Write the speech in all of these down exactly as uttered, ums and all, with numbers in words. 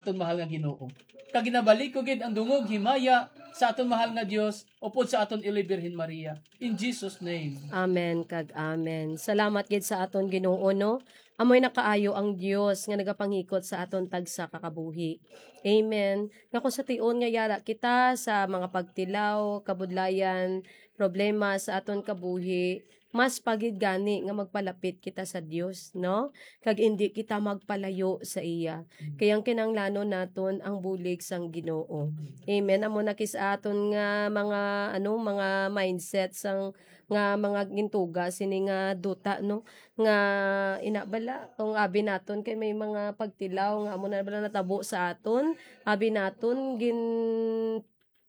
aton mahal nga Ginoo. Kag ginabalik ko gid ang dungog himaya sa aton mahal nga Dios upod sa aton Iloy Birhen Maria. In Jesus' name. Amen kag amen. Salamat gid sa aton Ginoo, no? Amoy nakaayo ang Dios nga nagapanghikot sa aton tagsa ka kabuhi. Amen. Nga kung sa tion nga yara kita sa mga pagtilaw, kabudlayan, problema sa aton kabuhi, mas pa gid gani nga magpalapit kita sa Dios, no? Kag indi kita magpalayo sa iya. Mm. Kay ang kinahanglanon naton ang bulig sang Ginoo. Mm. Amen. Amo na kis aton nga mga, ano, mga mindset sang, nga mga gintuga sini nga duta, no? Nga ina bala, kung abi naton kay may mga pagtilaw nga amo na bala natabo sa aton, abi naton gin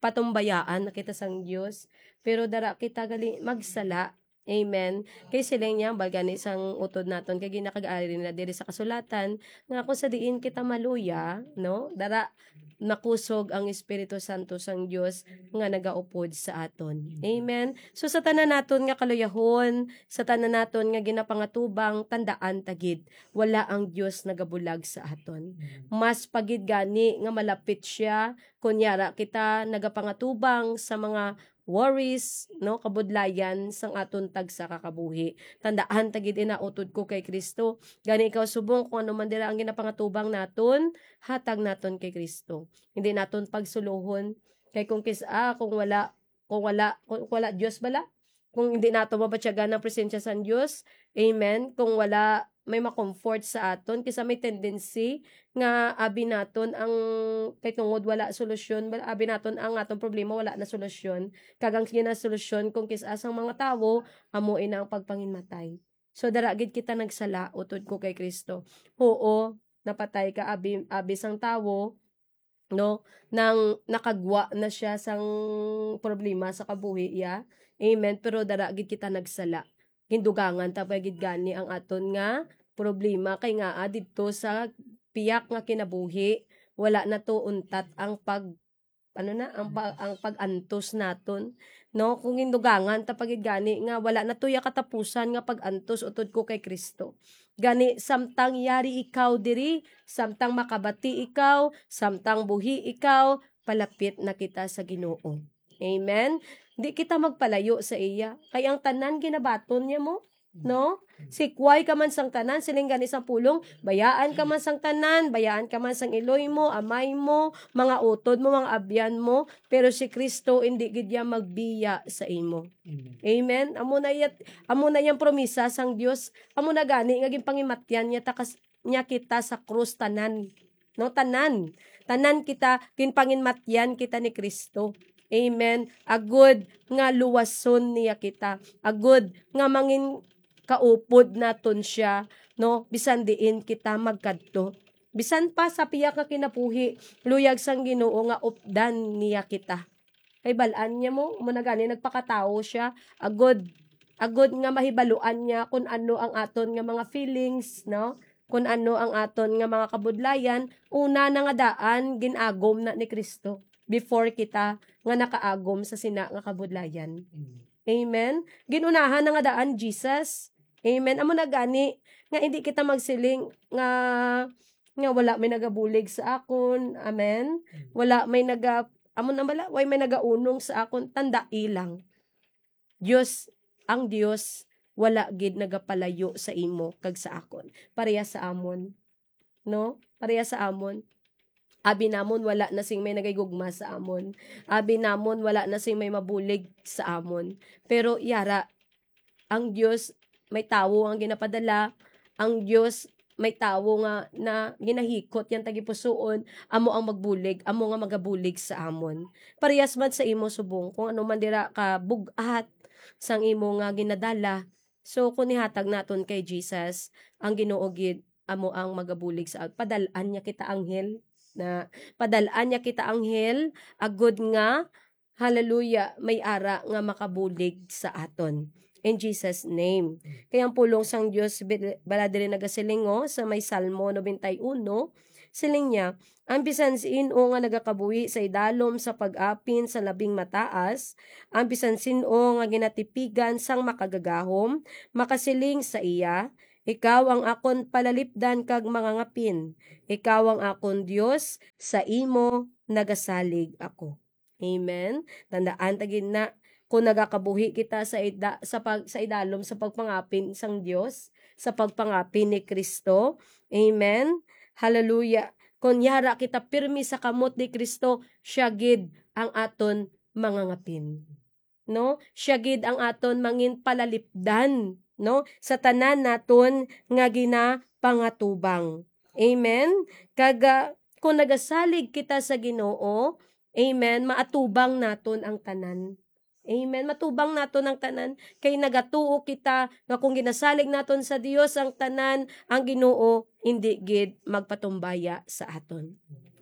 patumbayaan na kita sang Dios, pero dara kita gali magsala. Amen. Kay siling niya, bal gani sang utod naton, kay ginakag-ari na diri sa kasulatan, nga kung sa diin kita maluya, no? Dara, makusog ang Espiritu Santo sang Dios nga nagaupod sa aton. Amen. So, sa tanan naton nga kaluyahon, sa tanan naton nga ginapangatubang, tandaan ta gid, wala ang Dios nagabulag sa aton. Mas pa gid gani nga malapit siya, kon yara kita nagapangatubang sa mga worries, no, kabudlayan sang aton tagsa ka kabuhi. Tandaan ta gid ina, utod ko kay Cristo. Gani ikaw subong, kung ano man dira ang ginapangatubang naton, hatag naton kay Cristo. Hindi naton pagsulohon. Kay kung kis-, ah, kung wala, kung wala, kung wala Dios bala, kung hindi nato mabatyagan ang presensya sang Dios, amen, kung wala may ma-comfort sa aton, kisa may tendency nga abi naton ang, kay tungod wala solusyon, wala, abi naton ang aton problema wala na solusyon, kag ang ginasolusyon kung kis-a sang mga tawo amo ina ang pagpanginmatay. So, dara gid kita nagsala, utod ko kay Cristo. Oo, napatay ka, abi, abi sang tawo, no? Nang nakagwa na siya sang problema sa kabuhi iya. Amen. Pero dara gid kita nagsala. Gindugangan ta pa gid gani ang aton nga problema, kay ngaa didto sa piyak nga kinabuhi, wala na to untat ang pag, ano na, ang pa-, ang pag-antos naton, no? Kung gindugangan ta pa gid gani nga wala na to ya katapusan nga pag-antos utod ko kay Cristo. Gani, samtang yari ikaw diri, samtang makabati ikaw, samtang buhi ikaw, palapit na kita sa Ginoo. Amen? Di kita magpalayo sa iya. Kay ang tanan ginabaton niya mo, no? Sikway ka man sang tanan, siling gani sang pulong, bayaan ka man sang tanan, bayaan ka man sang iloy mo, amay mo, mga utod mo, mga abyan mo, pero si Cristo, hindi gid niya magbiya sa imo. Amen. Amen? Amo na iya, amo na yang promisa sang Dios. Amo na gani nga ginpangimatyan niya ta kas-, niya kita sa krus tanan. No, tanan. Tanan kita, ginpanginmatyan kita ni Cristo. Amen. Agud nga luwason niya kita. Agud nga mangin kaupod naton siya, no? Bisan diin kita magkadto. Bisan pa sa piyak nga kinabuhi, luyag sang Ginoo nga updan niya kita. Kay bal-an niya mo, mo na gani nagpakatawo siya, agud, agud nga mahibaluan niya kun ano ang aton nga mga feelings, no? Kun ano ang aton nga mga kabudlayan, una na nga daan gin-agom na ni Cristo before kita nga nakaagom sa sina nga kabudlayan. Amen. Amen. Gin-unahan na nga daan Jesus. Amen. Amo na gani nga hindi kita magsiling nga, nga wala may nagabulig sa akon. Amen. Mm. Wala may naga-, amo na bala, way may nagaunong sa akon. Tandai lang. Dios, ang Dios wala gid nagapalayo sa imo kag sa akon. Pareha sa amon, no? Pareha sa amon. Abi namon wala na sing may nagahigugma sa amon. Abi namon wala na sing may mabulig sa amon. Pero yara, ang Dios may tawo ang ginapadala, ang Dios may tawo nga na ginahikot yang tagipusoon, amo ang magbulig, amo nga magabulig sa amon. Parehas man sa imo subong, kung ano man dira ka bug-at sang imo nga ginadala. So, kung ihatag naton kay Jesus, ang Ginoo gid amo ang magabulig sa, padal-an niya kita anghel, na padal-an niya kita anghel, agud nga, hallelujah, may ara nga makabulig sa aton. In Jesus' name. Kaya ang pulong sang Dios bi-, bala diri nagasiling, oh, sa may Salmo nobenta y uno, siling niya, "Ang bisan sin-o nga nagakabuhi sa idalom sa pag-apin sa Labing Mataas, ang bisan sin-o nga ginatipigan sang Makagagahom, makasiling sa iya, Ikaw ang akon palalipdan kag mangangapin. Ikaw ang akon Dios, sa imo nagasalig ako. Amen. Tandaan ta gid na, kung nagakabuhi kita sa ida-, sa pag-, sa idalom sa pagpangapin sang Dios, sa pagpangapin ni Kristo. Amen. Hallelujah. Kung yara kita pirmi sa kamot ni Kristo, siya gid ang aton mangangapin. No? Siya gid ang aton mangin palalipdan, no? Sa tanan naton nga ginapangatubang. Amen? Kag, ah, kung nagasalig kita sa Ginoo, amen, maatubang naton ang tanan. Amen. Matubang naton ang tanan kay nagatuo kita nga kung ginasalig naton sa Dios ang tanan, ang Ginoo indi gid magpatumbaya sa aton.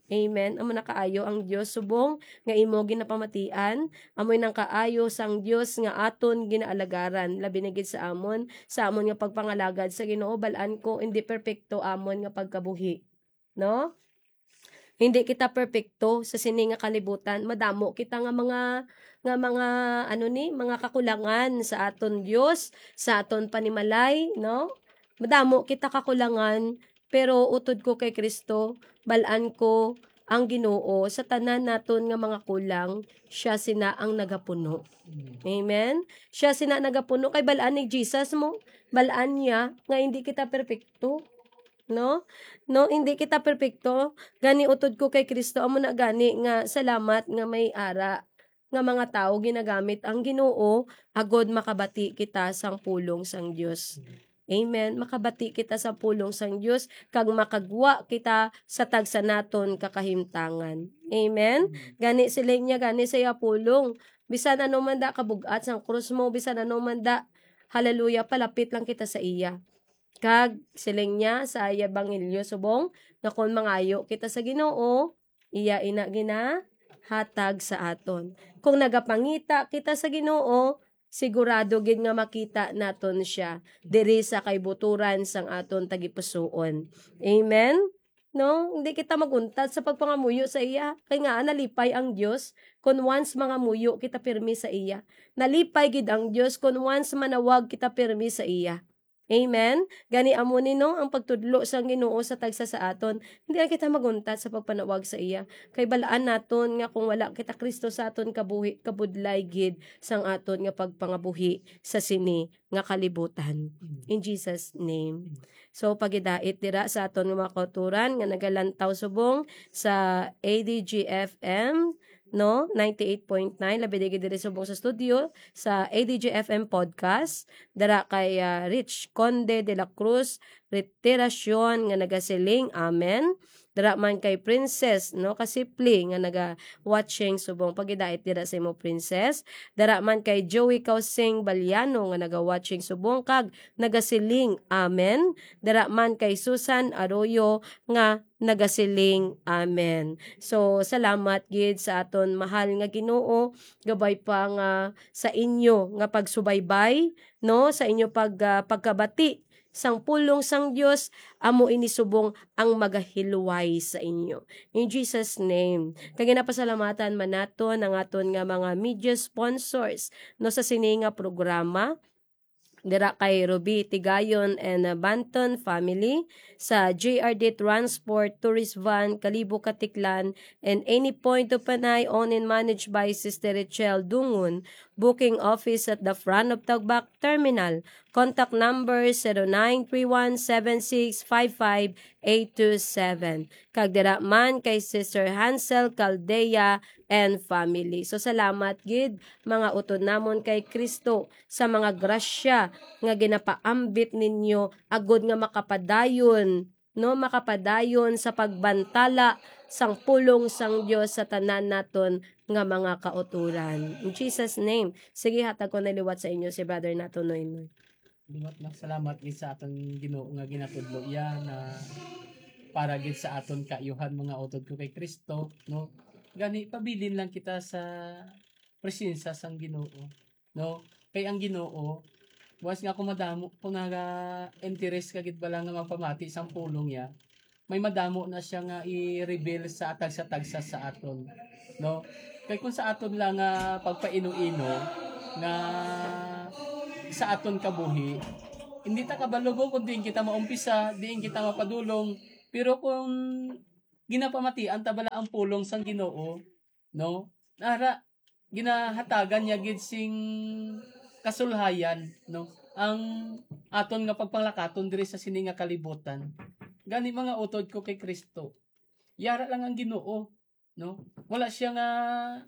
Amen. Amo na kaayo ang Dios subong nga imo ginapamatian. Amoy nang kaayo sang Dios nga aton ginaalagaran, labi na gid sa amon, sa amon nga pagpangalagad sa Ginoo. Bal-an ko, hindi perpekto amon nga pagkabuhi, no? Hindi kita perpekto sa sini nga kalibutan. Madamo kita nga mga, nga mga, ano ni, mga kakulangan sa aton Dios, sa aton panimalay, no? Madamo kita kakulangan, pero utod ko kay Kristo, bal-an ko ang Ginoo sa tanan naton nga mga kulang, siya sina ang nagapuno. Amen. Siya sina nagapuno kay bal-an ni Jesus mo, bal-an niya nga hindi kita perpekto. No? No, hindi kita perpekto. Gani utod ko kay Kristo, amo na gani nga salamat nga may ara nga mga tawo ginagamit ang Ginoo agod makabati kita sang pulong sang Dios. Amen. Makabati kita sa pulong sang Dios kag makagwa kita sa tagsa naton kakahimtangan. Amen. Gani siling niya gani sa iya pulong, bisan ano man da kabug-at sang krus mo, bisan ano man da, hallelujah, palapit lang kita sa iya. Kag siling niya sa iya ebanghelyo subong nga kon mangayo kita sa Ginoo, iya ina ginahatag sa aton. Kung nagapangita kita sa Ginoo, sigurado gid nga makita naton siya diri sa kaibuturan sang aton tagipusoon. Amen? No, hindi kita maguntat sa pagpangamuyo sa iya, kay nga nalipay ang Dios kon once mangamuyo kita pirmi sa iya. Nalipay gid ang Dios kon once manawag kita pirmi sa iya. Amen. Gani amo ni, no, ang pagtudlo sang Ginoo sa tagsa sa aton. Hindi na kita maguntat sa pagpanawag sa iya. Kay balaan naton nga kung wala kita Kristo sa aton kabuhi, kabudlay gid sang aton nga pagpangabuhi sa sini nga kalibutan. In Jesus' name. So, pagidait dira sa aton nga mga kauturan nga nagalantaw subong sa A D G F M, no, ninety-eight point nine, labi na gid diri subong sa studio sa A D G F M podcast, dira kay, ah, Rich Conde de la Cruz Retiracion nga nagasiling, amen. Dira man kay Princess, no, Kasipli nga naga-watching subong, pagidait dira sa imo, Princess. Dira man kay Joey Kausing Baliano nga naga-watching subong kag nagasiling, amen. Dira man kay Susan Arroyo nga nagasiling, amen. So, salamat gid sa aton mahal nga Ginoo, gabay pa nga sa inyo nga pagsubaybay, no, sa inyo pag, ah, pagkabati sang pulong sang Dios, amo ini subong ang magahilway sa inyo. In Jesus' name. Kag ginapasalamatan man naton ang aton nga mga media sponsors, no, sa sini nga programa. Dira kay Ruby Tigayon and, uh, Banton family, sa J R D Transport, Tourist Van, Kalibo, Katiklan, and Any Point of Panay, owned and managed by Sister Richelle Dungun. Booking office at the front of Tagbak Terminal. Contact number zero nine three one seven six five five eight two seven. Kag dira man kay Sister Hansel Caldea and family. So, salamat gid, mga utod namon kay Kristo, sa mga grasya nga ginapaambit ninyo agod nga makapadayon, no, makapadayon sa pagbantala sang pulong sang Dios sa tanan naton nga mga kauturan. In Jesus' name. Sige, hatag ko na liwat sa inyo si Brother nato, Noy Noy. Liwat na salamat gid sa aton Ginoo nga ginatudlo iya na para gid sa aton kaayuhan, mga utod ko kay Kristo, no? Gani, pabilin lang kita sa presensya sang Ginoo, no? Kay ang Ginoo, buwas nga kung madamo, kung naga-interest ka gid bala nga magpamati sang pulong niya, may madamo na siya nga i-reveal sa tagsa-tagsa sa aton, no? Kay kung sa aton lang nga pagpaino-ino nga sa aton kabuhi, Hindi ta kabalo kung diin kita maumpisa, diin kita mapadulong, pero kung ginapamatian ta bala ang pulong sang Ginoo, no? Ara, ginahatagan niya gid sing kasulhayan, no? Ang aton nga pagpanglakaton diri sa sini nga kalibutan. Gani, mga utod ko kay Kristo, yara lang ang Ginoo, no? Wala siya nga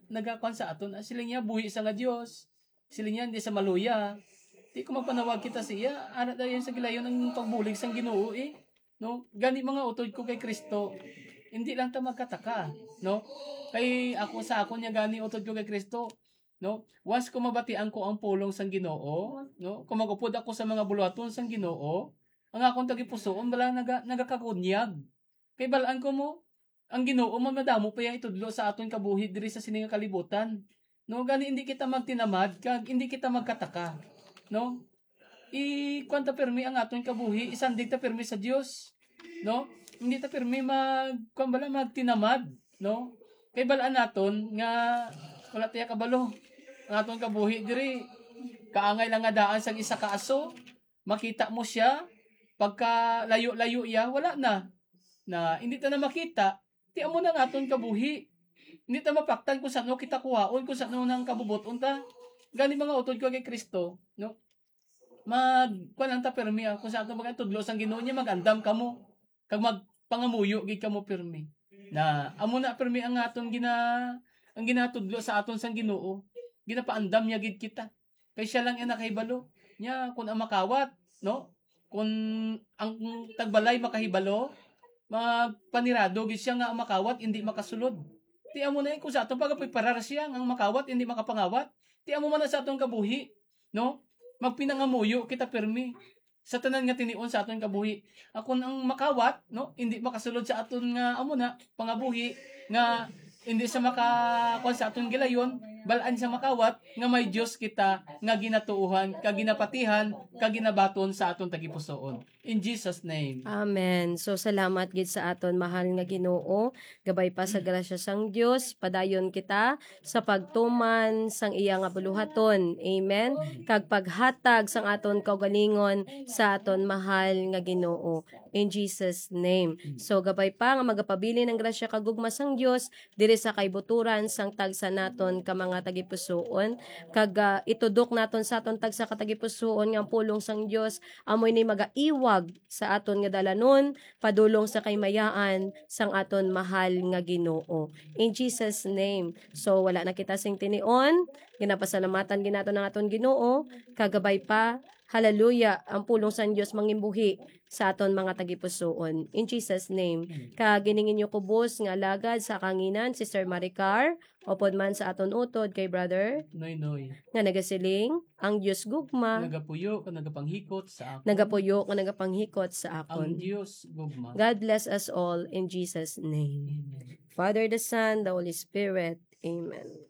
nagakuan sa aton. Ah, siling niya, buhi sa nga Dios. Siling niya, hindi sa maluya. Di ko magpanawag kita sa iya. Ara dayon sa gilayon ang pagbulig sang Ginoo, eh. No? Gani, mga utod ko kay Kristo, hindi lang ta magkataka, no? Kay ako, sa akon niya gani, utod ko kay Kristo, no? Once ko mabatian ko ang pulong sang Ginoo, no? Kung magupod ako sa mga buluhaton sang Ginoo, ang akon tagipusoon bala naga-, nagakagunyag. Kay balaan ko mo, ang Ginoo man madamo pa yang itudlo sa aton kabuhi diri sa sini nga kalibutan. No, gani hindi kita magtinamad kag hindi kita magkataka, no? I-kuwan ta pirmi ang aton kabuhi, isandig ta pirmi sa Dios, no? Hindi ta pirmi mag, kuwan bala, magtinamad, no? Kay balaan naton nga wala ta ya kabalo. Ang aton kabuhi diri, kaangay lang nga daan sang isa ka aso, makita mo siya, pagka layo-layo iya, wala na. Na, hindi ta na makita, ti amo na ang aton kabuhi. Hindi ta mapaktan kung saan kita kuhaon, kung saan nang kabubuton ta. Gani, mga utod ko kay Kristo, no? Mag, kuwan lang ta pirmi, ah, kung sa aton mga tudlo sang Ginoo niya, mag-andam kamo, kag magpangamuyo gid kamo pirmi. Na, amo na pirmi ang aton gina-, ang ginatudlo sa aton sang Ginoo. Ginapaandam niya gid kita. Kay siya lang ang nakahibalo. Nya, kung ang makawat, no? Kung ang tagbalay makahibalo, magpanirado gid siya nga ang makawat hindi makasulod. Ti amo na, eh, kung sa aton pagapreparar siya nga ang makawat hindi makapangawat. Ti amo man na sa aton kabuhi, no? Magpinangamuyo kita pirmi sa tanan nga tinion sa aton kabuhi. Akon ang makawat, no, hindi makasulod sa aton nga amo na pangabuhi, nga hindi sa maka-, kuwan sa aton gilayon, balaan sa makawat nga may Dios kita nga ginatuohan, kag ginapatihan, kag ginabaton sa aton tagipusoon. In Jesus' name. Amen. So, salamat gid sa aton mahal nga Ginoo. Gabay pa sa grasya sang Dios, padayon kita sa pagtuman sang iya nga buluhaton. Amen. Kag paghatag sang aton kaugalingon sa aton mahal nga Ginoo. In Jesus' name. So, gabay pa nga magapabilin ang grasya kag gugma sang Dios diri sa kaibuturan sang tagsa naton ka mga tagipusoon. Kag, ah, itudok naton sa aton tagsa ka tagipusoon nga ang pulong sang Dios amo ini magaiwag sa aton nga dalanon padulong sa kaymayaan sang aton mahal nga Ginoo. In Jesus' name. So, wala na kita sing tinion. Ginapasalamatan gid naton ang aton Ginoo. Kagabay pa, hallelujah, ang pulong sang Dios mangimbuhi sa aton mga tagipusoon. In Jesus' name. Amen. Kag ining inyo kubos nga alagad sa kanginan, Sister Maricar, upod man sa aton utod kay Brother Noy Noy, nga nagasiling, ang Dios gugma nagapuyo kag nagapanghikot sa akon. Nagapuyo kag nagapanghikot sa akon. Ang Dios gugma. God bless us all in Jesus' name. Amen. Father, the Son, the Holy Spirit. Amen.